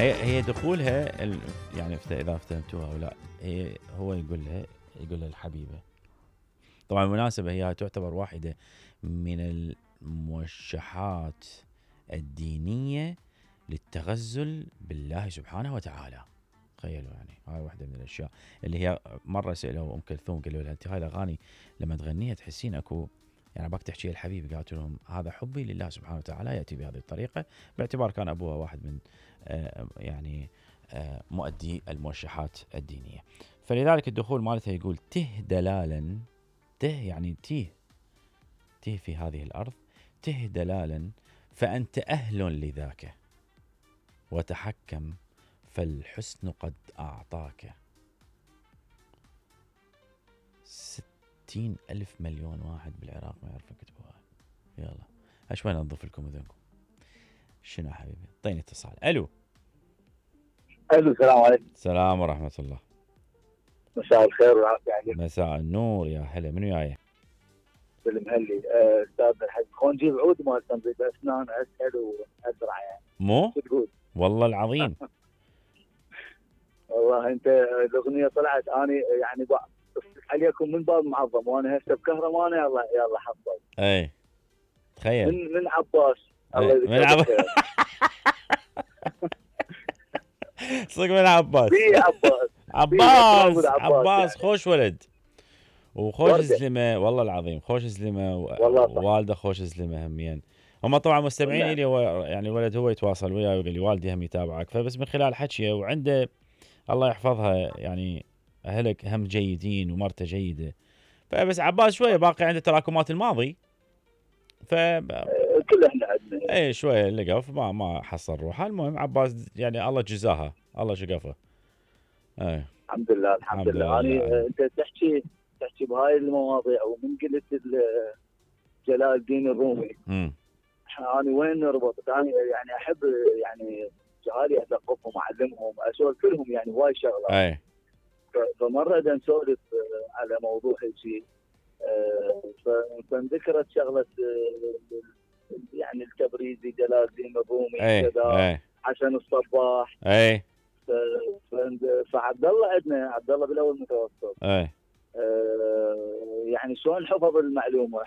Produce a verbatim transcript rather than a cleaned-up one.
هي هي دخولها ال... يعني اذا افتهمتوها او لا، هي هو يقول لها يقول لها الحبيبه. طبعا بالمناسبه هي تعتبر واحده من الموشحات الدينيه للتغزل بالله سبحانه وتعالى. تخيلوا يعني هاي واحده من الاشياء اللي هي مره سالوا ام كلثوم قالوا لها انت هاي الاغاني لما تغنيها تحسين اكو يعني باك تحكي الحبيب. قالت لهم هذا حبي لله سبحانه وتعالى ياتي بهذه الطريقه، باعتبار كان ابوها واحد من آه يعني آه مؤدي الموشحات الدينيه. فلذلك الدخول مالتها يقول ته دلالا، ته يعني تيه تيه في هذه الارض، ته دلالا فانت اهل لذاك وتحكم فالحسن قد اعطاك. ستين ألف مليون واحد بالعراق ما يعرفون يكتبوها. يلا أشوي ننظف لكم اذنكم. شنو حبيبي؟ اعطيني اتصال. الو الو السلام عليكم. السلام ورحمة الله. مساء الخير والعافية عليك. مساء النور يا هلا. منو جاي؟ بالمهلي استاذ الحاج خلينا نجيب عود مال تنظيف اسنان اسهل واسرع يعني. مو؟ شو تقول؟ والله العظيم. والله انت الاغنيه طلعت اني يعني عليكم من باب معظم وانا هسه بكهرمانه. يلا يلا حصل. اي تخيل. من من عباس. الله يذكره من عباس. صدق من عباس. في عباس. عباس عباس يعني. خوش ولد وخوش زلمه والله العظيم. خوش زلمه ووالده خوش زلمه همين. هم طبعا مستمعين لي. هو يعني الولد هو يتواصل وياي ويقول لي والدي هم يتابعك، فبس من خلال حكيه وعنده الله يحفظها يعني اهلك هم جيدين ومرته جيده. فبس عباس شويه باقي عنده تراكمات الماضي. ف كل احنا عندنا اي شويه لقف ما ما حصل روحه. المهم عباس يعني الله جزاها الله شقفه. اي الحمد لله الحمد لله. انا انت تحكي تحكي بهاي المواضيع ومن قلت جلال الدين الرومي امم انا وين نربط؟ انا يعني احب يعني جهالي اثقفهم اعلمهم اسولف لهم يعني هواي شغله. اي فمره بدنا نسولف على موضوع شيء فانذكرت شغله يعني التبريزي جلال الدين الرومي كذا حسن الصباح. اي فعبد الله عندنا عبد الله بالاول متوسط. اي يعني شلون حفظ المعلومه؟